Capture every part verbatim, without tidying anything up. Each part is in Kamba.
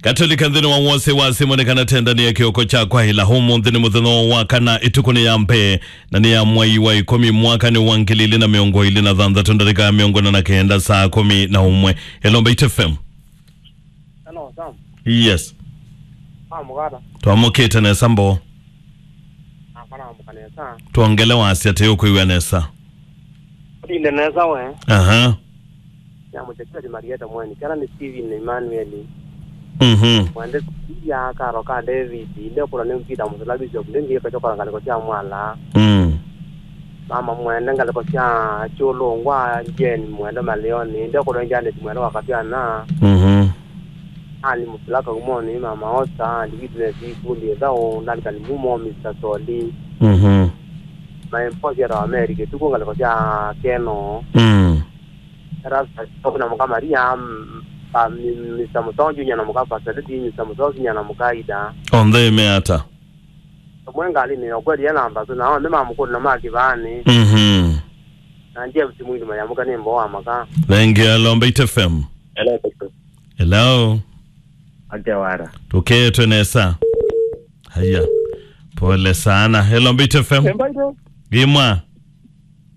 Atũlika nthĩnĩ wa wose wa simũ nĩ kana tendanie kĩoko kya kwaĩla. Ũmũnthĩ nĩ mũthenya wa kana, ĩtukũ nĩ ya mbee, na nĩ ya mwai wa ĩkũmi, mwaka nĩ wa ngili ilĩ na mĩongo ĩlĩ na thanthatũ, ndatĩka ya mĩongo ĩna na kenda saa kũmi na ũmwe. Hello, Mbaitu F M. Hello, Sam. Yes. Ah, mũkata. Twamũkĩte nesa mbo. Ah, kana amũka nesa. Twongele wasya tĩ ũkwĩw'a nesa. Ũtinde nesa we. Aha. Ya mũteteeri Marieta mweni. Kana nĩ Steven na Emmanuel. Mhm. Mwende ya karo ka David. Ile kula nĩ Peter Musila Bishop. Ndio ndio kwa ngalĩko sya mwala. Mm. Mama mwende ngalĩko sya Kyũlũngwa, Jane mwende Maleoni. Ndio kula Janet mwende wa Katiana. Mhm. Ali Musila Kaumoni, Mama Osa, ali Witness Ikundi Ethau, Duncan Mumo, Mister Soli. Mhm. Maemposi ya Amerika, tuko ngalĩko sya Keno. Mm. Rasta, kuna mũka Maria, mm, pa, mi-, Mister Mutongi, nyana mũka Pastor Teddy, Mister Mutongi, nyana mũka Ida. Onthe ĩmeata. Mwe ngalĩnĩ ya kweli ya namba, so na onthe mamũkũna ma kĩvaanĩ. Mhm. Na James Mwindu mayamũka nĩ mbo wa maka. Thank you, hello, Mbaitu F M. Hello, Doctor. Hello. Ate wara. Tũketwe nesa. Haya. Pole sana. Hello, Mbaitu F M. Embaito. Gimwa.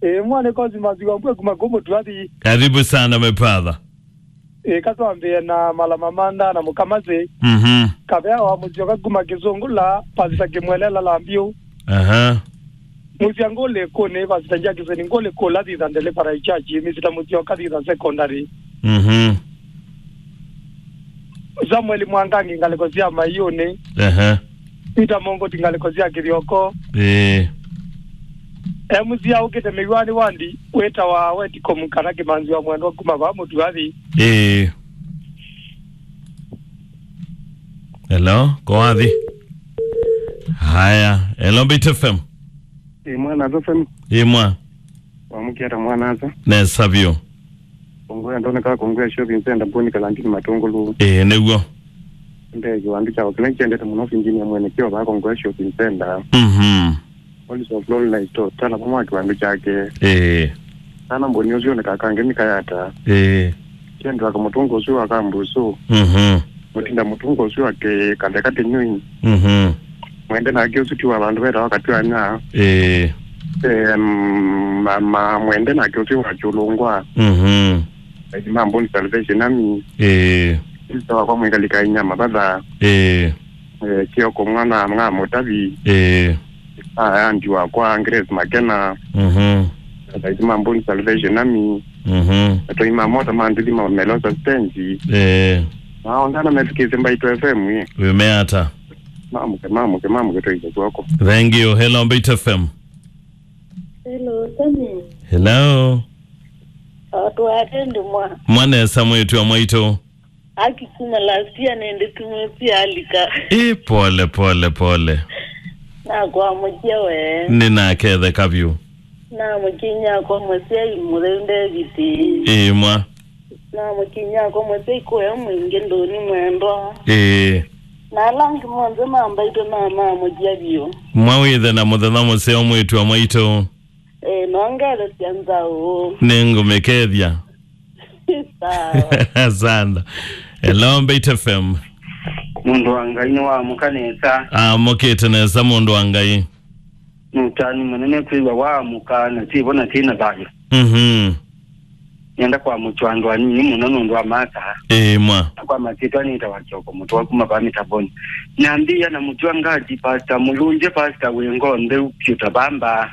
E, mwana kozi maziwa mbwe kuma kumu tuathi. Karibu sana, my brother. E, katwambie na malama manda na mũkamazi. Mhm. Kavea wa mũsyoka kuma Kĩsũngũla, Pastor Kĩmwelela Lambiũ. Aha. Mũsya ngũlĩ kũnĩ Pastor Jackson, ngũlĩ kũla thitha ndele para ichachi, Mister Mũsyoka thitha secondary. Mhm. Samuel Mwangangi ngalĩko sya Maiũnĩ. Aha. Peter Mongoti ngalĩko sya Kĩthyoko. Ĩĩ. E mũsya ũkĩte mĩwani wandi, wĩtawa Weticom kana Kĩmanzi wa Mwendwa kuma va Mũtuathi. Ĩĩ. Hello, ko wathi? Haya, hello, Mbaitu F M. Ĩ, mwana F M. Ĩ, mwa. Wamũkĩata mwana asa. Nesa vyũ. Kongoya ndoneka Kongoya Shopping Center, Mboni Kalantini Matũngũlũ. Ĩĩ, nĩw'o. Nde kĩwandũ kya kĩla kyendete mũno, Virginia mwene kĩo va Kongoya Shopping Center. Mhm. Police of Lolna Store, tala mwa kĩwandũ kyake. Ĩĩ. Sana Mboni ũsu nĩ kakange nĩ kayata. Ĩĩ. Kendra kamũtũnga ũsu wa kambusu. Mhm. Mũtinda mũtũnga ũsu wa kĩ-, kande katĩnyũi. Mhm. Mwende nake ũsu ti wa vandũ vetawa Katwanya. Ĩĩ. Em, ma, ma, mwende nake ũsu wa Kyũlũngwa. Mhm. Aidi ma Mboni Salvation Army. Ĩĩ. Sister wakwa mwĩkalika inya mavatha. Ĩĩ. Eh, Kioko mwana mwa Mũtavi. Ĩĩ. Aya andi wakwa Grace Makena. Mhm. Aidi ma Mboni Salvation Army. Mhm. Atoi ma mota ma nduthi ma Melosa Stage. Ĩĩ. Maongana metukĩte Mbaitu F M ĩ. Wĩmeata? Mamũke, mamũke, mamũke tũize kwako. Thank you. Hello, Mbaitu F M. Hello, Tony. Hello. Atwate ndimwa. Mwanesa mwĩtu wa mwaitũ. Akikuma last year nende tumwe pia alika. Ĩ, pole, pole, pole. Na kwa mũkia we. Nĩnaketheka vyũ. Na mũkinya kwa mũsyai mũtheu David. Ĩ, mwa. Na mũkinya kwa mũsyai kũya mwingĩ ndũni mwendwa. Ĩĩ. Na ala angĩ monthe ma Mbaitu na mamũkia vyũ. Mwa wĩthe na mũthenya mũseo mwĩtu wa mwaitũ. Ĩĩ, nongelesya nzaũ. Nĩngũmĩkethya. Sawa. Asante. Hello, Mbaitu F M. Mũndũ wa Ngai nĩwamũka nesa. Amũkĩte nesa mũndũ wa Ngai. Nũtani mũnene kwĩw'a waamũka na twĩvo na twĩ na thayũ. Mhm. Nĩenda kwamũkya andũ anini mũno nũndũ wa masa. Ĩĩ, mwa. Na kwa masyĩtwa nĩtawa Kioko Mũtũa kuma va Mĩtavoni. Nambĩĩa na mũtw'a ngati, Pastor Mũlũnje, Pastor wĩ ngoo ntheu, Pyuta Bamba.